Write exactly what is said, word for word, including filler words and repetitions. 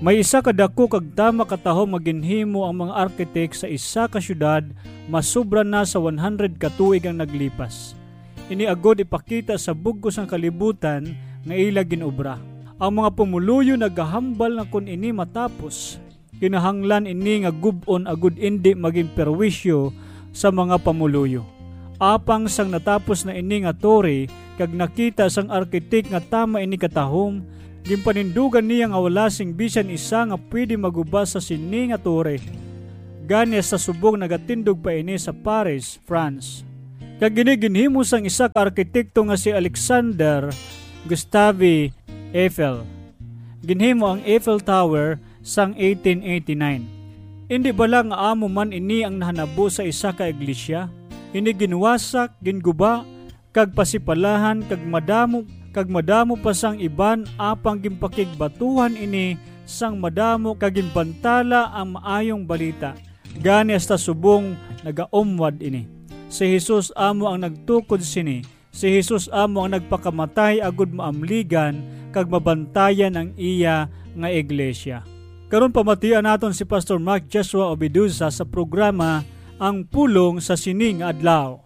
May isa ka daku kag tama ka tahom nga ginhimo ang mga arkitek sa isa ka siyudad, masobra na sa one hundred ka tuig ang naglipas. Ini agod ipakita sa bug-os nga kalibutan nga ila gin-obra. Ang mga pumuluyo nagahambal nga kon ini matapos, kinahanglan ini nga gub-on agud indi maging perwisyo sa mga pamuluyo. Apang sang natapos na ini nga tore kag nakita sang arkitek nga tama ini katahom, ginpanindugan niya nga wala sing bisan isa nga pwede maguba sa sini nga tore. Gani sa subong nagatindog pa ini sa Paris, France. Kag ini ginhimo sang isa ka arkitekto nga si Alexander Gustave Eiffel. Ginhimo ang Eiffel Tower sang eighteen eighty-nine. Indi bala nga amo man ini ang nahanabo sa isa ka iglesia? Ini ginwasak, ginguba, kag pasipalahan, kag madamo, kag madamo pa sang iban, apang ginpakigbatuhan ini sang madamo, kag ginbantala ang maayong balita. Gani hasta subong nagaumwad ini. Si Jesus amo ang nagtukod sini. Si Jesus amo ang nagpakamatay agud maamligan kag mabantayan ang iya nga iglesia. Karon pamatian naton si Pastor Mark Joshua Obiduza sa programa Ang Pulong sa Sini nga Adlaw.